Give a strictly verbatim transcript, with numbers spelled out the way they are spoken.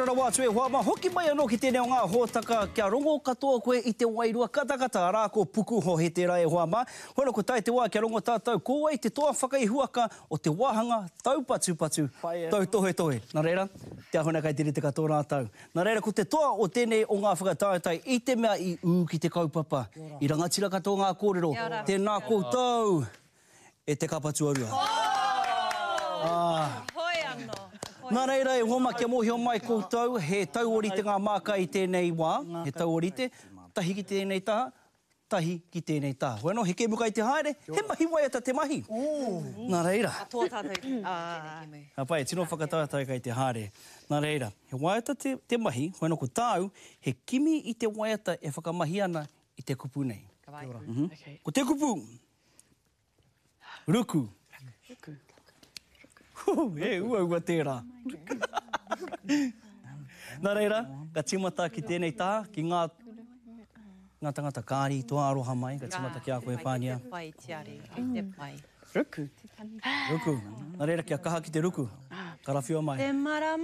ora rawa atu e hoa mā, hoki mai anō ki tēnei o ngā hōtaka kia rongo katoa koe i te wairua katakata, arā ko Pukuhohe tērā e hoa mā. Hoi anō ko tae te wā kia rongo tātou ko wai te toa whakaihuwaka o te wāhanga taupatupatu, tautohetohe. Nā reira, te ahuna kai te rite katoa rātou. Nā reira, ko te toa o tēnei o ngā whakataetae i te mea i ū ki te kaupapa, i rangatira katoa ngā kōrero, tēnā koutou e te kapa tuarua. Hoi anō. Nā reira, e hoa mā, kia mōhio mai koutou, he tauorite ngā māka i tēnei wā, he tauorite, tahi ki tēnei taha, tahi ki tēnei taha. Hoi anō, he kēmu kai te haere, he mahi waiata te mahi. Nā reira. Katoa tātou i tēnei kēmu. Ka pai, tino whakataetae kai te haere. Nā reira, he waiata te, te mahi, hoi anō ko tāu, he kimi i te waiata e whakamahi ana i te kupu nei. Ka pai. Mm-hmm. Ko te kupu, ruku. Ruku. He uaua tērā. Nā reira, ka tīmata ki tēnei taha, ki ngā, ngā tangata kāri, toa aroha mai, ka tīmata ki a koe, Pānia. Te pai, Tiare, te pai. Ruku. Ruku. Nā reira, kia kaha ki te ruku. Karawhiua mai. Te marama.